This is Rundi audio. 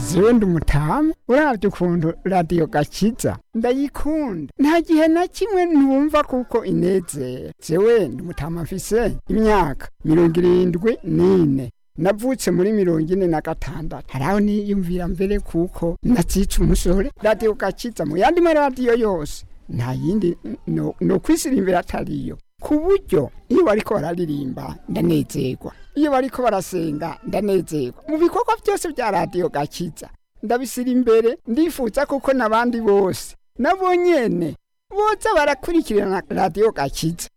Zewe ndi umutamu, uravye ukuntu Radiyo Gakiza ndayikunda, nta gihe na kimwe ntumva kuko inezera. Zewe ndi umutamu, mfise imyaka 74, navutse muri 46. Haraho niyumvira mbere kuko natsica umusore. Radiyo Gakiza mu yandi maradiyo yose nta yindi no kwisirimbira atariyo, ku buryo iyo bariko bararirimba ndanezerwa, iyo bariko barasenga ndanezerwa. Mu bikorwa byose bya Radiyo Gakiza ndabisira imbere, ndifuza kuko n'abandi bose nabo nyene boza barakurikirana Radiyo Gakiza.